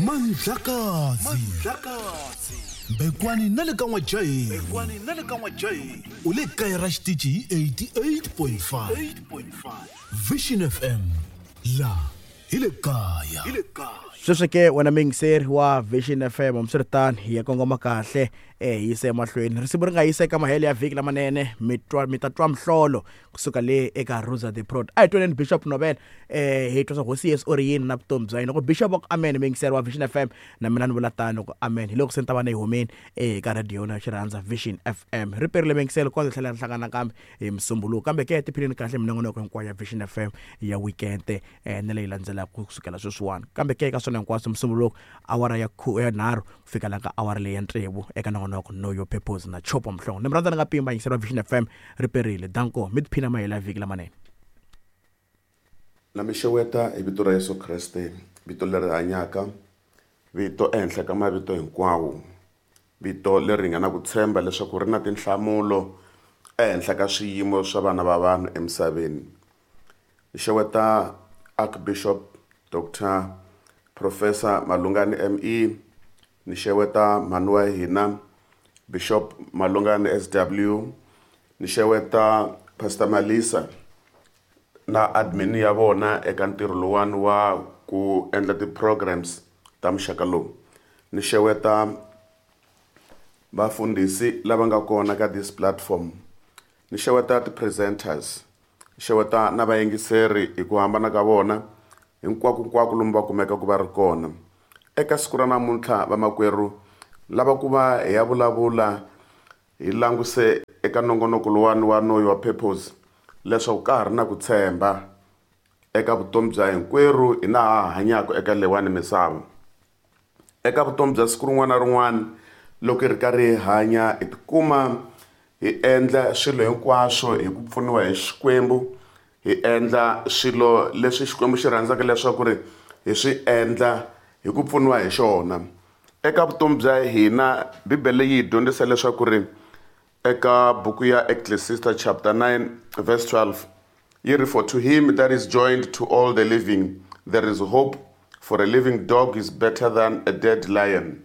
Mandlakazi Mbekwani na le ka N'wajaheni u le kaya ra xitichi hi 88.5 Vision FM la hi le kaya. Sweswi ke wena muyingiseri wa Vision FM, hambiswiritano hi ya kongoma kahle hi yisa emahlweni risimu ri nga yisa eka mahelo ya vhiki lamanene, mi twa mi ta twa mihlolo kusuka le eka Rosa the Prod. A hi twaneni Bishop Nobel, hi twa swa hosi Yesu u ri yini na vutomi bya yena. Loko Bishop va ku amen, muyingiseri wa Vision FM, na mina ni vula tano ku amen. Hi loko se ni ta va ni yi humini eka radio na xirhandza Vision FM. Ri perile muyingiseri, kondza hi tlhela ri hlangana nakambe hi Musumbuluko. Kambe ke tiphinini kahle minongonoko hinkwayo ya Vision FM ya weekend na leyi landzelaka kusukela sweswiwani. Kambe ke eka swona hinkwaswo, Musumbuluko awara ya ya nharhu ku fika la ka awara leyi ya tsevu eka nongonoko Know Your Purpose na Chopo Mhlongo. Ni mi rhandza ni nga pima yingiseri wa Vision FM, ri perile. Danko, mi tiphina mahelo ya vhiki lamanene. Na mi xeweta hi vito ra Yesu Kreste, vito leri hanyaka, vito ehenhla ka mavito hinkwawo, vito leri hi nga na ku tshemba leswaku ri na tinhlamulo ehenhla ka swiyimo swa vana va vanhu emisaveni. Ni xeweta Archbishop Doctor Professor Malungani ME, ni xeweta mhani wa hina Bishop Malungani SW, ni xeweta Pastor Malisa na admin ya vona eka ntirho lowuwani wa ku endla ti-programs ta muxaka lowu. Ni xeweta vafundhisi lava nga kona ka this platform, ni xeweta ti-presenters, ni xeweta na vayingiseri hi ku hambana ka vona hinkwako hinkwako lomu va kumekaka va ri kona. Eka siku ra namuntlha vamakwerhu lava ku va hi ya vulavula hi languse eka nongonoko lowuwani wa Know Your Purpose leswaku ka ha ri na ku tshemba eka vutomi bya hinkwerhu hina ha hanyaka eka leyiwani misava. Eka vutomi bya siku rin'wana na rin'wana loko hi ri karhi hi hanya hi tikuma hi endla swilo hinkwaswo hi ku pfuniwa hi Xikwembu, hi endla swilo leswi Xikwembu xi rhandzaka leswaku ri hi swi endla hi ku pfuniwa hi xona. Eka vutomi bya hina Bibele yi hi dyondzisa leswaku ri eka buku ya Ecclesiastes chapter 9 verse 12 yi ri, for to him that is joined to all the living there is hope, for a living dog is better than a dead lion.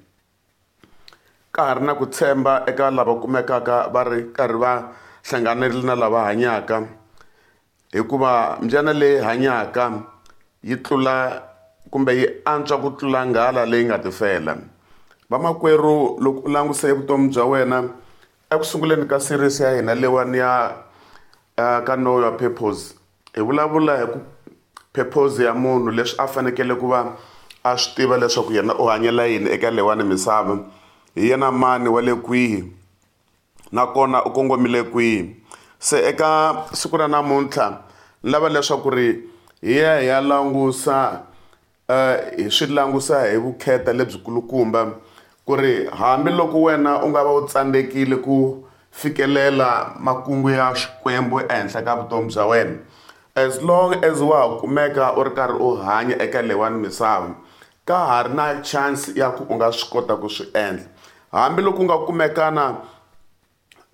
Ka ha ri na ku tshemba eka lava kumekaka va ri karhi va hlanganile na lava hanyaka, hikuva mbyana leyi hanyaka yi tlula kumbe yi antswa ku tlula nghala leyi nga tifela. Vamakwerhu, loko u languse vutomi bya wena eku sunguleni ka series ya hina leyiwani ya ka Know Your Purpose, hi vulavula hi ku purpose ya munhu, leswi a fanekele ku va a swi tiva leswaku yena u hanyela yini eka leyiwani misava, hi yena mani wa le kwihi nakona u kongomile kwihi. Se eka siku ra namuntlha ni lava leswaku ri hi ya hi ya langusa hi swi langusa hi vukheta lebyikulukumba ku ri hambiloko wena u nga va u tsandzekile ku fikelela makungu ya Xikwembu ehenhla ka vutomi bya wena, as long as wa ha kumeka u ri karhi u hanya eka leyiwani misava, ka ha ri na chance ya ku u nga swi kota ku swi endla. Hambiloko u nga kumekana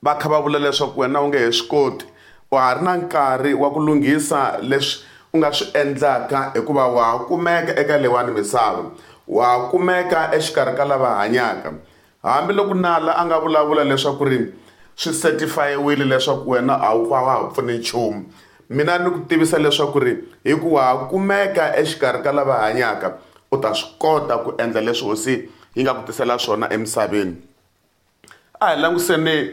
va kha va vula leswaku wena u nge he swi koti, wa ha ri na nkarhi wa ku lunghisa leswi u nga swi endlaka, hikuva wa ha kumeka eka leyiwani misava, wa ha kumeka exikarhi ka lava hanyaka. Hambiloko nala a nga vulavula leswaku ri swi certify-iwile leswaku wena a wu va wa ha pfuni nchumu, mina ni ku tivisa leswaku ri hi ku wa ha kumeka exikarhi ka lava hanyaka, u ta swi kota ku endla leswi hosi yi nga ku tisela swona emisaveni. A hi languseni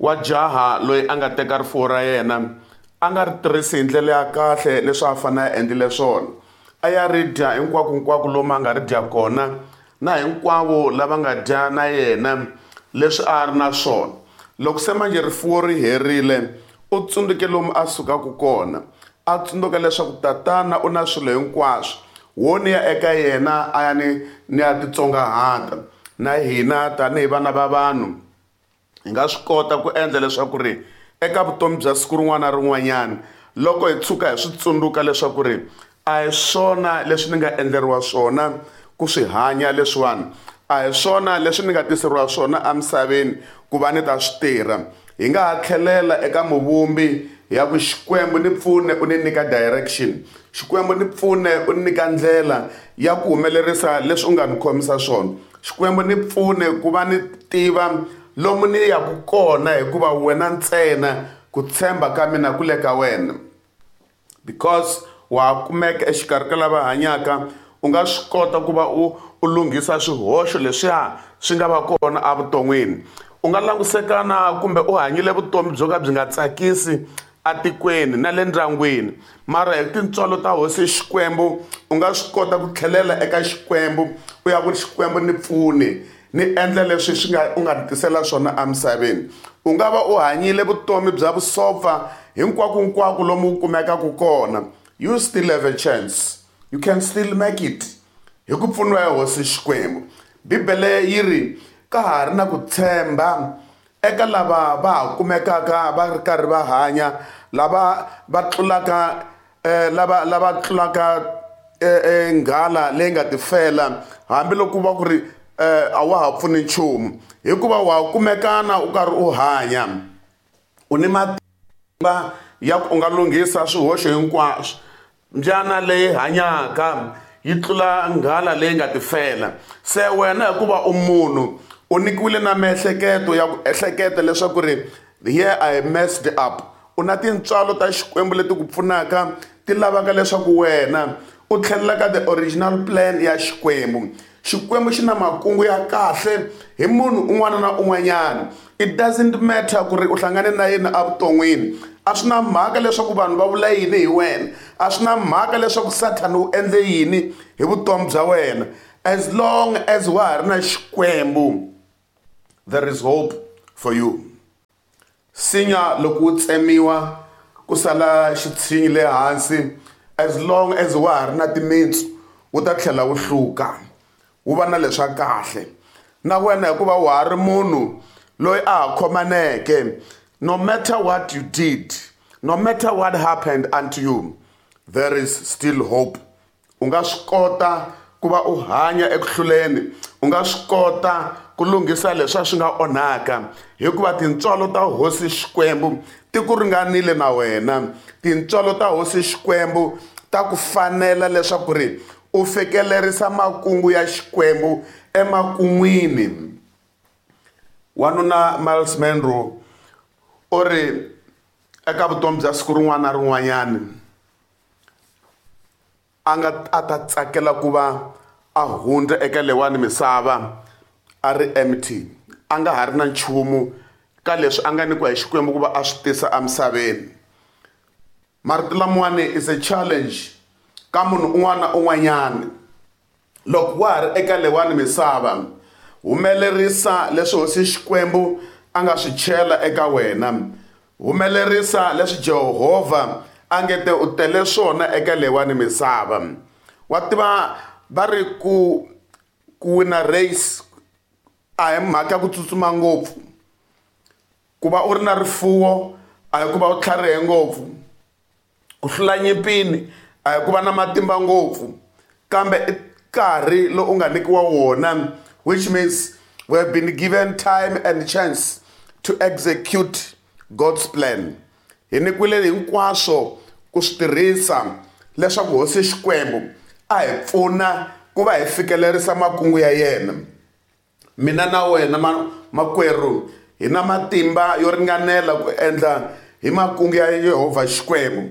wa jaha loyi a nga teka rifuwo ra yena a nga ri tirhisi hi ndlela ya kahle leswi a fanele a endlile swona, a ya ri dya hinkwako hinkwako lomu a nga ri dya kona na hinkwavo lava nga dya na yena leswi a ri na swona. Loko se manje rifuwo ri herile, u tsundzuke lomu a sukaka kona, a tsundzuka leswaku tatana u na swilo hinkwaswo, wo ni ya eka yena a ya ni ya titsongahata. Na hina tanihi vana va vanhu hi nga swi kota ku endla leswaku ri eka vutomi bya siku rin'wana na rin'wanyana loko hi tshuka hi swi tsundzuka leswaku ri a hi swona leswi ni nga endleriwa swona ku swi hanya leswiwani, a hi swona leswi ni nga tiseriwa swona emisaveni ku va ni ta swi tirha, hi nga ha tlhelela eka muvumbi hi ya ku Xikwembu ni pfune u ni nyika direction. Xikwembu ni pfune u nyika ndlela ya ku humelerisa leswi u nga ni khomisa swona. Xikwembu ni pfune ku va ni tiva lomu ni yaku kona, hikuva wena ntsena ku tshemba ka mina ku le ka wena. Because wa kumeka exikarhi ka lava hanyaka, u nga swi kota ku va u lunghisa swihoxo leswiya swi nga va kona evuton'wini. U nga langusekana kumbe u hanyile vutomi byo ka byi nga tsakisi atikweni na le ndyangwini, mara hi tintswalo ta hosi Xikwembu u nga swi kota ku tlhelela eka Xikwembu u ya ku Xikwembu ni pfuni ni endla leswi swi nga u nga ni tisela swona emisaveni. U nga va u hanyile vutomi bya vusopfa hinkwako lomu u kumekaka kona, you still have a chance, you can still make it hi ku pfuniwa hi hosi Xikwembu. Bibele yi ri ka ha ri na ku tshemba eka lava va ha kumekaka va ri karhi va hanya, lava va tlulaka lava tlulaka nghala leyi nga tifela, hambiloko va ku ri a wa ha pfuni nchumu, hikuva wa kumekana u karhi u hanya, u ni matimba ya ku u nga lunghisa swihoxo hinkwaswo. Mbyana leyi hanyaka yi tlula nghala leyi nga tifela. Se wena hikuva u munhu u nyikiwile na miehleketo ya ku ehleketa leswaku ri here I messed up, u na tintswalo ta Xikwembu leti ku pfunaka, ti lavaka leswaku wena u tlhelela ka the original plan ya Xikwembu. Xikwembu xi na makungu ya kahle hi munhu un'wana na un'wanyana. It doesn't matter ku ri u hlangane na yena evuton'wini, a swi na mhaka leswaku vanhu va vula yini hi wena, a swi na mhaka leswaku Sathana u endle yini hi vutomi bya wena. As long as wa ha ri na Xikwembu, there is hope for you. Sinya loko wu tsemiwa ku sala xitshinyi le hansi, as long as wa ha ri na timintsu wu ta tlhela wu hluka, wu va na leswa kahle. Na wena hikuva wa ha ri munhu loyi a ha khomaneke, no matter what you did, no matter what happened unto you, there is still hope. U nga swi kota ku va u hanya ekuhluleni, u nga swi kota ku lunghisa leswi swi nga onhaka, hikuva tintswalo ta hosi Xikwembu ti ku ringanile na wena. Tintswalo ta hosi Xikwembu ta ku fanela leswaku ri u fikelerisa makungu ya Xikwembu emakun'wini. Wanuna Myles Munroe u ri eka vutomi bya siku rin'wana na rin'wanyana a nga a ta tsakela ku va a hundza eka leyiwani misava a ri empty, a nga ha ri na nchumu ka leswi a nga nyikiwa hi Xikwembu ku va a swi tisa emisaveni. Marito lamawani is a challenge ka munhu un'wana na un'wanyana. Loko wa ha ri eka leyiwani misava, humelerisa leswi hosi Xikwembu a nga swi chela eka wena, humelerisa leswi Jehovha a nge te u tele swona eka leyiwani misava. Wa tiva va ri ku wina race a hi mhaka ya ku tsutsuma ngopfu, ku va u ri na rifuwo a hi ku va u tlharihe ngopfu, ku hlula nyimpini a hi ku va na matimba ngopfu, kambe i nkarhi lowu u nga nyikiwa wona, which means we have been given time and chance to execute God's plan. Hi nyikiwile hinkwaswo ku swi tirhisa leswaku hosi Xikwembu a hi pfuna ku va hi fikelerisa makungu ya yena. Mina na wena makwerhu hi na matimba yo ringanela ku endla hi makungu ya Yehovha Xikwembu.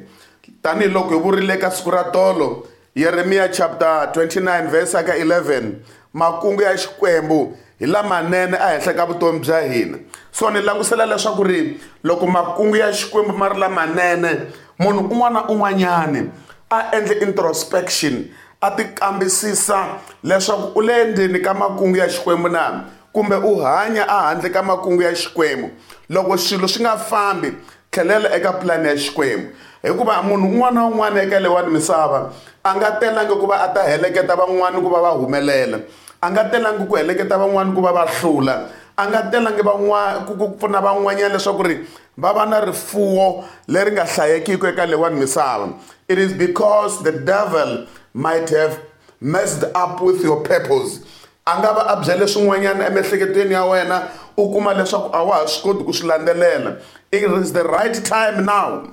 Tanihiloko hi vurile ka siku ra tolo, Yeremiya chapter 29 verse ka 11, makungu ya Xikwembu hi lamanene ehenhla ka vutomi bya hina. So ni langusela leswaku ri loko makungu ya Xikwembu ma ri lamanene, munhu un'wana na un'wanyani a endle introspection, a ti kambisisa leswaku u le ndzeni ka makungu ya Xikwembu na kumbe u hanya ehandle ka makungu ya Xikwembu. Loko swilo swi nga fambi, tlhelela eka plan ya Xikwembu, hikuva munhu un'wana na un'wana eka leyiwani misava a nga telangi ku va a ta heleketa van'wani ku va va humelela, a nga telangi ku heleketa van'wani ku va va hlula, a nga telangi ku pfuna van'wanyana leswaku ri va va na rifuwo leri nga hlayekiki eka leyiwani misava. It is because the devil might have messed up with your purpose. A nga va a byele swin'wanyana emiehleketweni ya wena, u kuma leswaku a wa ha swi koti ku swi landzelela. It is the right time now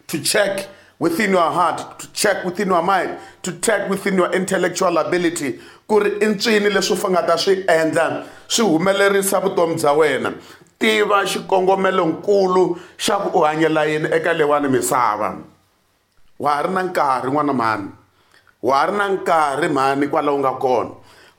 to check within your heart, to check within your mind, to check within your intellectual ability ku ri i ncini leswi u nga ta swi endla swi humelerisa vutomi bya wena. Tiva xikongomelonkulu xa ku u hanyela yini eka leyiwani misava. Wa ha ri na nkarhi n'wana mhani, wa ha ri na nkarhi mhani kwala u nga kona,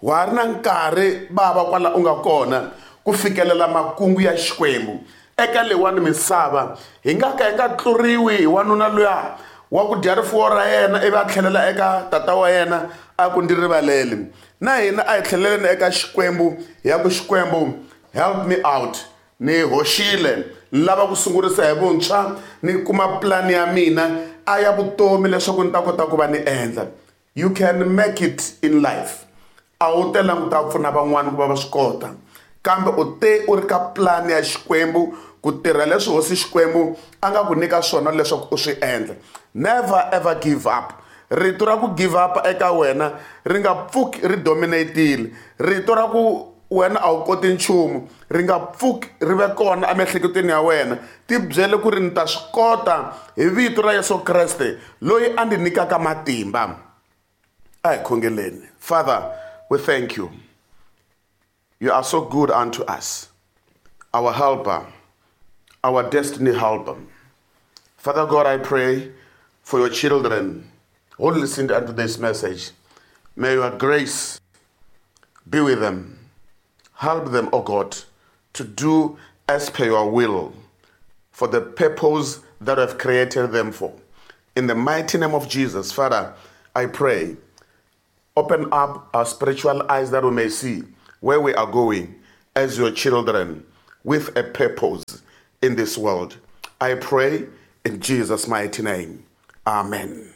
wa ha ri na nkarhi bava kwala u nga kona ku fikelela makungu ya Xikwembu eka leyiwani misava. Hi nga ka hi nga tluriwi hi wanuna luya wa ku dya rifuwo ra yena ivi a tlhelela eka tata wa yena a ku ndzi rivaleli. Na hina a hi tlheleleni eka Xikwembu hi ya ku Xikwembu help me out, ni hoxile, ni lava ku sungurisa hi vuntshwa, ni kuma plan ya mina a ya vutomi leswaku ni ta kota ku va ni endla. You can make it in life. A wu telangi ku ta pfuna van'wani ku va va swi kota, kambe u te u ri ka plan ya Xikwembu ku tirha leswi hosi Xikwembu a nga ku nyika swona leswaku u swi endla. Never ever give up. Rito ra ku give up eka wena ri nga pfuki ri dominate-ile. Rito ra ku wena a wu koti nchumu ri nga pfuki ri ve kona emiehleketweni ya wena. Ti byele ku ri ni ta swi kota hi vito ra Yesu Kreste loyi a ndzi nyikaka matimba. A hi khongeleni. Father, we thank you. You are so good unto us, our helper, our destiny helper. Father God, I pray for your children who listened unto this message. May your grace be with them. Help them, O God, to do as per your will for the purpose that you have created them for. In the mighty name of Jesus, Father, I pray, open up our spiritual eyes that we may see where we are going as your children with a purpose in this world. I pray in Jesus' mighty name. Amen.